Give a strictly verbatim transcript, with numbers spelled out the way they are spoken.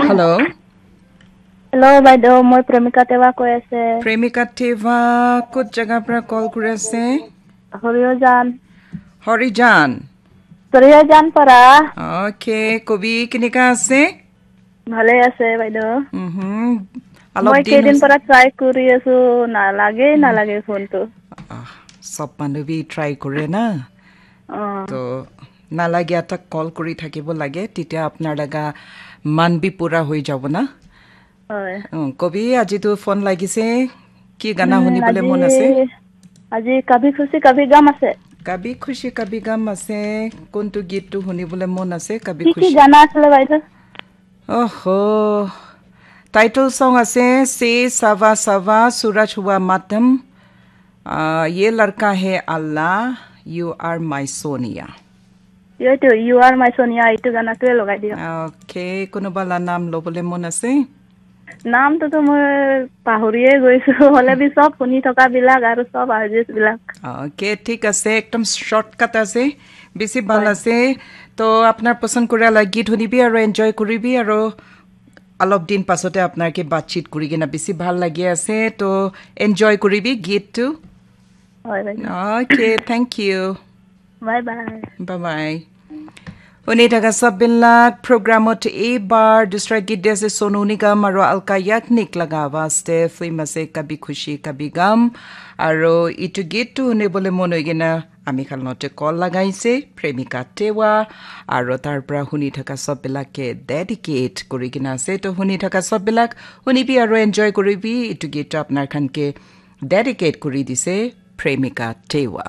Hello. Hello, বাইদেউ, মই প্ৰেমিকা টেৱা কৈ আছে। প্ৰেমিকা টেৱা, ক'ত জেগাৰ পৰা কল কৰি আছে? হৰিজান। হৰিজান। হৰিজান পৰা। অ'কে, কবি কেনেকা আছে? ভালে আছে, বাইদেউ। উহুম, অলপ মই দিন কেইদিন হৈছে। পৰা ট্ৰাই কৰি আছো, নালাগে, উম। নালাগে ফোনটো। আহ, চব মানুহ বি ট্ৰাই কৰে না। অ। তো নালাগে, এটা কল কৰি থাকিব লাগে, তেতিয়া আপোনাৰ লগা মান বি পুৰা হৈ যাব না। হয়। উম, কবি, আজিতো ফোন লাগিছে, কি গানা উম, শুনিবলৈ আজি, মন আছে? আজি কাভি খুচি কাভি গাম আছে। কাভি খুচি কাভি গাম আছে, কোনটো গীতটো শুনিবলৈ মন আছে? কাভি কি কি খুচি। গানা আছিলে বাইদেউ? অহ, টাইটল চং আছে, চে চাভা চাভা, চুৰজ হুৱা মাতম, আহ, য়ে লড়কা হে আল্লাহ, ইউ আৰ মাই সোনিয়া। এইটো, ইউ আৰ মাই সোনিয়া, এইটো গানাটোৱে লগাই দিয়ক। অ'কে, কোনোবা লা নাম ল'বলৈ মন আছে? নামটোতো মই পাহৰিয়ে গৈছো, হ'লে বি চব শুনি থকা বিলাক আৰু চব আৰ্টিষ্ট বিলাক। অ'কে, ঠিক আছে, একদম শ্বৰ্টকাট আছে, বেছি ভাল হয়। আছে। তো আপোনাৰ পচন্দ কৰা লা গীত শুনিবি আৰু এনজয় কৰিবি আৰু অলপ দিন পাছতে আপোনাকে বাতচিত কৰি কিনে বেছি ভাল লাগি আছে। তো এনজয় কৰিবি গীতটো। হয়, বাইদেউ। Okay, thank you. Bye bye. Bye bye. শুনি থকা চববিলাক প্ৰগ্ৰামত এইবাৰ দুচৰা গীত দি আছে সোনু নিগম আৰু আলকা য়াগনিক লগা আৱাজ দে। ফিল্ম আছে কভি খুচি কভি গাম। আৰু এইটো গীতটো শুনিবলৈ মন হৈ কিনে আমি খালনতে কল লগাইছে প্ৰেমিকা টেৱা আৰু তাৰ পৰা শুনি থকা চববিলাকে ডেডিকেট কৰি কিনে আছে। তো শুনি থকা চববিলাক শুনিবি আৰু এনজয় কৰিবি। এইটো গীতটো আপোনাৰ খানকে ডেডিকেট কৰি দিছে প্ৰেমিকা টেৱা।